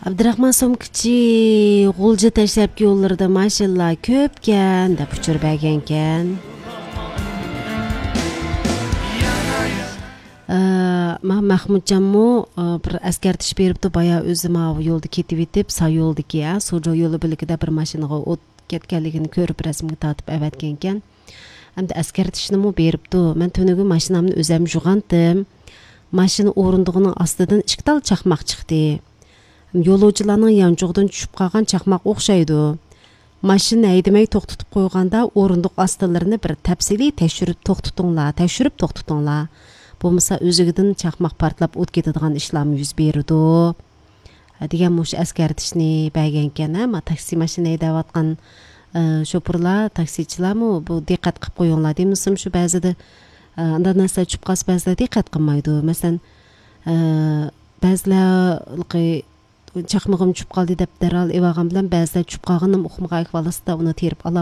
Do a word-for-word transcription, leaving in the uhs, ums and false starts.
ئابدۇراخمان سومكىچى غۇلجا دەشلەپكى يوللىرىدا ماشىنىلار كۆپكەن دەپ ئۇچۇر بەرگەنكەن. ئە، ما-، مەخمۇتجانمۇ، ئە، بىر ئەسكەرتىش بېرىپتۇ، بايا ئۆزى ماۋۇ يولدا كېتىۋېتىپ، سا يولدىكى، ئە، سۇجۇ يولى بۆلىكىدە بىر ماشىنىغا ئوت كەتكەنلىكىنى كۆرۈپ رەسىمگە تارتىپ ئەۋەتكەنكەن. ئەمدى ئەسكەرتىشنىمۇ بېرىپتۇ. مەن تۈنۈگۈن ماشىنامنى ئۆزەم يۇغانتىم. ماشىنا ئورۇندۇقىنىڭ ئاستىدىن ئىككى تال چاقماق چىقتى. يولۇچىلارنىڭ يانچۇقىدىن چۈشۈپ قالغان چاقماق ئوخشايدۇ. ماشىنا ھەيدىمەي توختىتىپ قويغاندا ئورۇندۇق ئاستىلىرىنى بىر تەپسىلىي تەكشۈرۈپ توختىتىڭلار، تەكشۈرۈپ توختىتىڭلار. بولمىسا ئۆزىگىدىن چاقماق پارتلاپ ئوت كېتىدىغان ئىشلارمۇ يۈز بېرىدۇ. دېگەن مۇشۇ ئەسكەرتىشنى بەرگەنكەن، ھە، ما تاكسى ماشىنا ھەيدەۋاتقان، ئە، شوپۇرلار، تاكسىچىلارمۇ بۇ دىققەت قىلىپ قويۇڭلار دېمىسىم، شۇ بەزىدە، ئە، ئانداق نەرسىلەر چۈشۈپ قالسا، بەزىلەر دىققەت قىلمايدۇ. مەسىلەن، ئە، بەزىلەر چاقمىقىم چۈشۈپ قالدى دەپ دەرھال ئېلىۋالغان بىلەن، بەزىلەر چۈشۈپ قالغىنىنى ئۇقمىغان ئەھۋالدا ئۇنى تېرىپ ئالالمايدۇ.